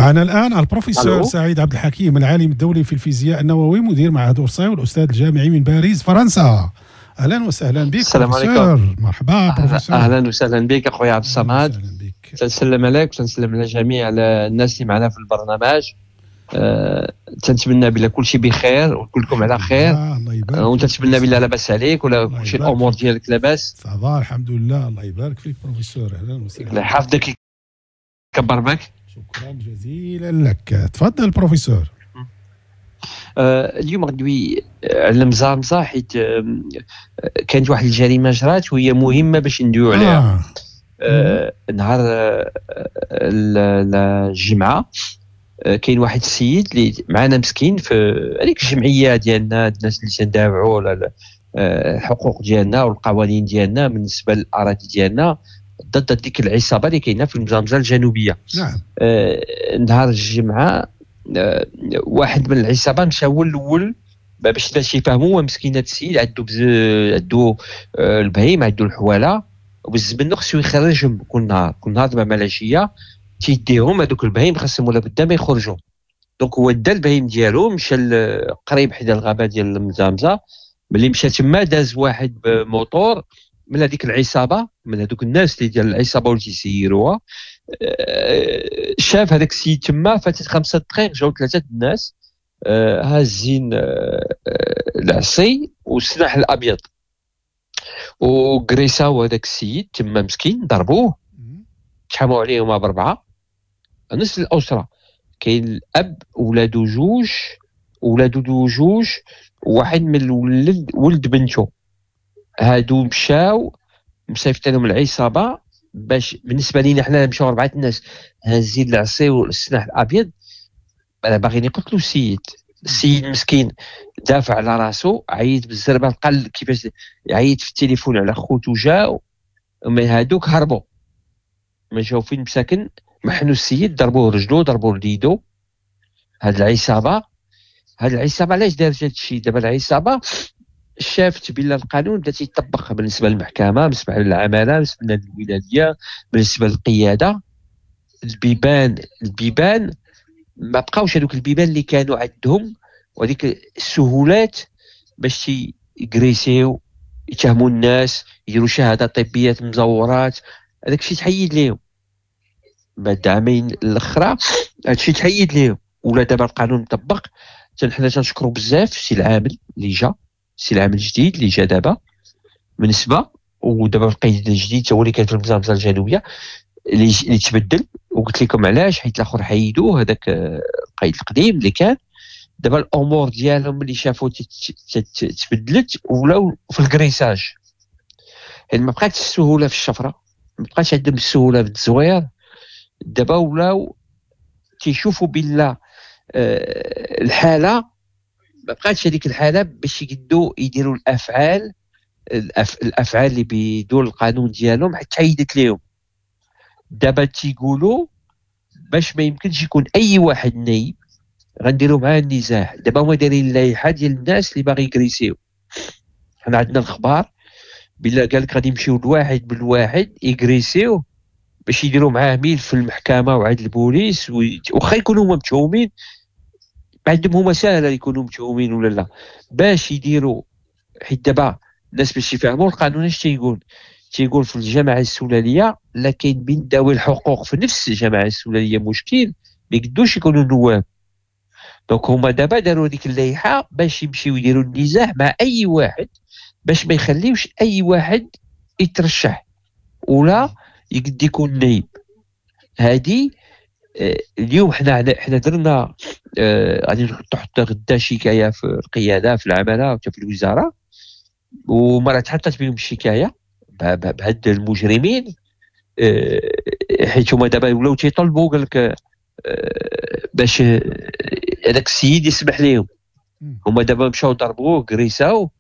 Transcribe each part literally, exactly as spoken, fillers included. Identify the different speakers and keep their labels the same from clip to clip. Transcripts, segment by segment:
Speaker 1: معنا الآن البروفيسور
Speaker 2: ألو.
Speaker 1: سعيد عبد الحكيم، العالم الدولي في الفيزياء النووي، مدير معهد أورساي والأستاذ الجامعي من باريس فرنسا. أهلا وسهلا بك
Speaker 2: السلام
Speaker 1: بروفيسور.
Speaker 2: عليكم.
Speaker 1: مرحبا بروفيسور.
Speaker 2: اهلا وسهلا بك اخويا عبد الصمد.
Speaker 1: أهلا بك.
Speaker 2: تنسلم عليك وتنسلم على جميع الناس اللي معنا في البرنامج. أه تنتمنى بلا كل شيء بخير وكلكم على خير.
Speaker 1: آه الله يبارك.
Speaker 2: أه وتنتمنى بلا لاباس عليك ولا
Speaker 1: الله
Speaker 2: كل شيء
Speaker 1: يبارك.
Speaker 2: الامور ديالك لاباس.
Speaker 1: ça va الحمد لله، الله يبارك فيك بروفيسور. اهلا
Speaker 2: الله
Speaker 1: وسهلا،
Speaker 2: يحفظك يكبر بك.
Speaker 1: شكرا جزيلا لك. تفضل بروفيسور.
Speaker 2: أه اليوم غندوي على المزامزه حيت كانت واحد الجريمة جرات وهي مهمة باش ندويو عليها.
Speaker 1: آه.
Speaker 2: آه نهار آه الجمعة آه كاين واحد السيد اللي معنا مسكين في هذيك الجمعية ديالنا، الناس اللي تندافعوا على الحقوق ديالنا والقوانين ديالنا بالنسبة للاراضي ديالنا ضد ديك العصابة اللي كاينه في المزامزه الجنوبية.
Speaker 1: نعم.
Speaker 2: آه نهار الجمعة آه واحد من العصابة مشى هو الاول باش الناس يفهموا. مسكين هذا السيد عنده بز... عنده آه البهيم، عنده الحواله، وبز منه خصو يخرجهم كل نهار، كل نهار دابا مع العشية تيديهم هذوك البهيم، خاصهم ولا بدا ما يخرجوا. donc هو دا البهيم ديالو مشى قريب حدا الغابة ديال المزامزه. ملي مشى تما داز واحد بموتور من هذيك العصابة، من هذوك الناس اللي ديال العصابة واللي تيسيروها. شاف هذاك السيد تما، فاتت خمسة دقائق جاو ثلاثة الناس هازين العصي والسلاح الابيض وكريساو هذاك السيد تما مسكين، ضربوه، تحاموا عليهم باربعة نفس الاسرة. كاين الاب ولادو جوج، ولادو جوج وواحد من الولد ولد بنته. هادو مشاو مصيفط لهم العصابة باش بالنسبة لينا حنا مشاو اربعة الناس هازين العصي والسلاح الابيض باغيين يقتلوا السيد. السيد مسكين دافع على راسو، عيط بالزربه، قال كيفاش عيط في التليفون على خوتو جاو، من هادوك هربوا ما جاو فين مساكن، محنوا السيد، ضربوه رجلو، ضربوه ليدو. هاد العصابة، هاد العصابة علاش دارت هاد الشيء؟ دابا العصابة شافت بان القانون بدا تيطبق بالنسبة للمحكمة، بالنسبة للعماله، بالنسبة للولاديه، بالنسبة للقياده. البيبان البيبان ما بقاوش هذوك البيبان اللي كانوا عندهم وهذيك السهولات باش يكريسيو، يتهموا الناس، يديروا شهادات طبية مزورات. هذاك الشيء تحيد ليهم بعد عامين الاخرى، هذا الشيء تحيد ليهم. ولا دابا القانون مطبق. حنا تنشكروا بزاف السي العامل اللي جا، السي العامل الجديد اللي جا دابا بالنسبة، ودابا القيد الجديد هو اللي كان في المزامزه الجنوبية اللي اللي تبدل. وقلت لكم علاش، حيت الاخر حيدوه هذاك القيد القديم اللي كان. دابا الامور ديالهم اللي شافوا تبدلت ولاو في الكريساج، يعني ما بقاتش السهولة في الشفرة، ما بقاتش عندهم السهولة في التزوير. دابا ولاو تيشوفوا بلا الحالة ما بقاتش هذيك الحالة باش يقدوا يديروا الافعال الأف... الافعال اللي بدون القانون ديالهم حتى حيدت لهم. دابا تيقولوا باش ما يمكنش يكون اي واحد نايب غنديروا معاه النزاع. دابا هما دايرين اللائحة ديال الناس اللي باغي يكريسيو. حنا عندنا الخبار بلا قال لك غادي يمشيو لواحد بالواحد يكريسيو باش يديروا معاه ميل في المحكمة وعند البوليس، واخا يكونوا هما متهومين، عندهم هما ساهله يكونوا متهومين ولا لا، باش يديروا. حيت دابا الناس باش يفهموا القانون اش تيقول، تيقول في الجماعة السلاليه لا كاين بين ذوي الحقوق في نفس الجماعة السلاليه مشكل، ما يقدوش يكونوا نواب. donc هما دابا داروا ديك اللائحة باش يمشيو يديروا النزاع مع اي واحد، باش ما يخليوش اي واحد يترشح ولا يقد يكون نايب. هادي اليوم حنا حنا درنا غادي نحط غدا شكاية في القيادة في العمالة وحتى في الوزارة، وما راه تحطت بهم الشكاية بهاد المجرمين، حيت هما دابا ولاو تيطلبوا قال لك باش هذاك السيد يسمح لهم. هما دابا مشاو ضربوه كريساو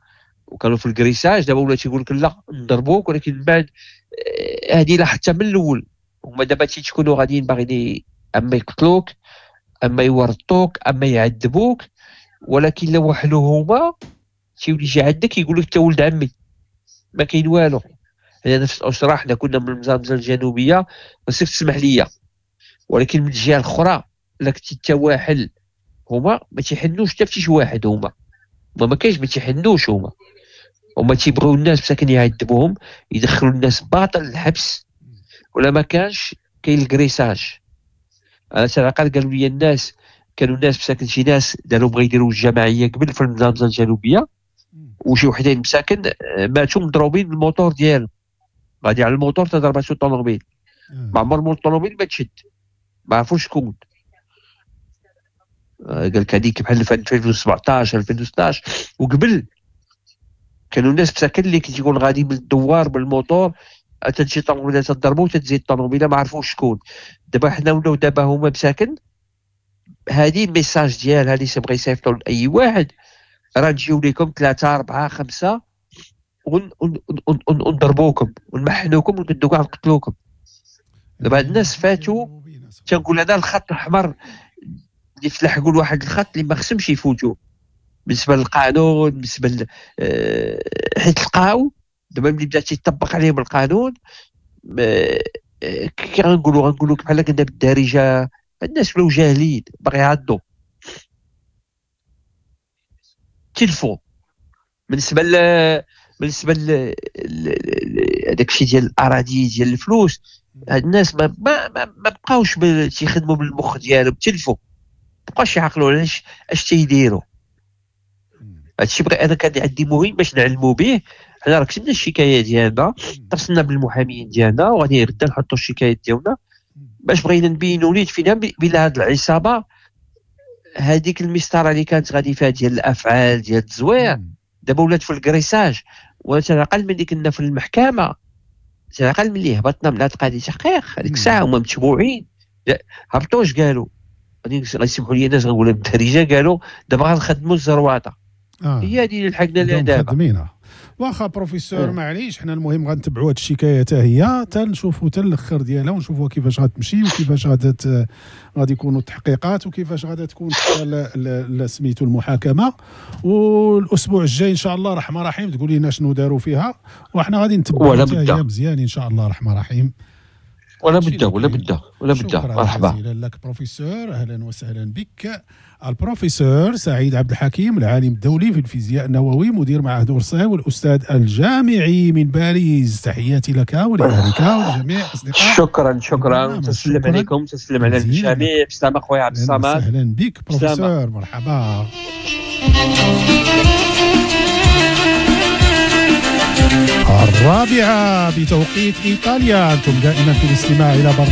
Speaker 2: وكانوا في الكريساج. دابا ولا تيقول لك لا نضربوك، ولكن من بعد هذه لا حتى من الاول. هما دابا تيكونوا غاديين باغيين اما يقتلوك اما يورطوك اما يعذبوك، ولكن لو وحلو هما تيولي يجي عندك يقول لك انت ولد عمي ما كاين والو. حنا نفس الاسرة، حنا كنا من المزامزه الجنوبية، خصك تسمح ليا. ولكن من الجهة الاخرى لا كنتي انت واحل، هما ما تيحنوش حتى في شي واحد، هما ما كاينش، ما تيحنوش هما، هما تيبغيو الناس مساكن يعذبوهم، يدخلوا الناس باطل الحبس، ولا ما كانش كاين ال graissage. انا تنعقل قالوا لي الناس، كانوا الناس مساكن شي ناس داروا بغا يديروا الجماعية قبل في المنظمة الجنوبية، وشي وحدين مساكن ماتوا مضروبين بالموتور ديالهم، غادي على الموتور تضرباتو الطوموبيل، ما عمر مول الطوموبيل ما تشد، ما عرفوش شكون. قال لك هذيك بحال في ألفين وسبعطاش ألفين وستاش وقبل كانوا الناس مساكن اللي كتيقول غادي بالدوار بالموتور تجي طوموبيله تضربو تتزيد الطوموبيله ما عرفوش شكون. دابا حنا ولاو دابا هما مساكن هذه ال message ديالها اللي تبغي يصيفطوا لاي واحد، راه نجيو لكم ثلاثة أربعة خمسة ونضربوكم ونمحنوكم ونقدو كاع نقتلوكم. دابا الناس فاتوا، تنقول هذا الخط الاحمر اللي تلحقوا لواحد الخط اللي ما خصهمش يفوتوا بالنسبة للقانون، بالنسبة ل... حيت لقاو دابا ملي بدا تيطبق عليهم القانون، كي غنقولوا غنقولوا بحال كنا بالدارجة الناس ولاو جاهلين باغي يعضوا تلفوا بالنسبة ل بالنسبة ل هذاك الشيء ديال الاراضي ديال الفلوس. هاد الناس ما ما ما, ما بقاوش تيخدموا بالمخ ديالهم، تلفوا، ما بقاوش يعقلوا علاش اش تيديروا. هادشي بغي انا كان عندي مهم باش نعلموا به. حنا راه كتبنا الشكاية ديالنا، اتصلنا بالمحاميين ديالنا، وغادي غدا نحطوا الشكايات ديالنا باش بغينا نبينوا ليه فينا بلا هاد العصابة هذيك المسطره اللي كانت غادي فيها ديال الافعال ديال التزوير دابا ولات في الكريساج. وتنعقل ملي كنا في المحكمة، تنعقل ملي هبطنا من هاد القضية تحقيق هذيك الساعة هما متبوعين، هبطوا اش قالوا؟ غادي يسمحوا لي الناس غنقولها بالدارجة، قالوا دابا غنخدموا الزرواطه. آه. هي هذه اللي لحقنا لها دابا.
Speaker 1: واخا بروفيسور معليش، حنا المهم غنتبعوا هاد الشكاية حتى هي حتى نشوفوا حتى الاخر ديالها ونشوفوا كيفاش غتمشي وكيفاش غادي غادي يكونوا التحقيقات وكيفاش غادي تكون سميتو المحاكمة. والاسبوع الجاي ان شاء الله الرحمن الرحيم تقول لنا شنو داروا فيها، وحنا غادي نتبعوا حتى هي مزيان ان شاء الله الرحمن الرحيم.
Speaker 2: ولا بدا ولا بدا ولا بدا.
Speaker 1: مرحبا جزيلا لك بروفيسور، اهلا وسهلا بك. البروفيسور سعيد عبد الحكيم، العالم الدولي في الفيزياء النووي، مدير معهد أورساي والاستاذ الجامعي من باريس. تحياتي لك ولأهلك ولجميع اصدقائك.
Speaker 2: شكرا شكرا، تسلم عليكم، تسلم على الجميع. بسلامة خويا عبد الصمد.
Speaker 1: اهلا بك بروفيسور، مرحبا. الرابعة بتوقيت إيطاليا، أنتم دائما في الاستماع إلى برنامج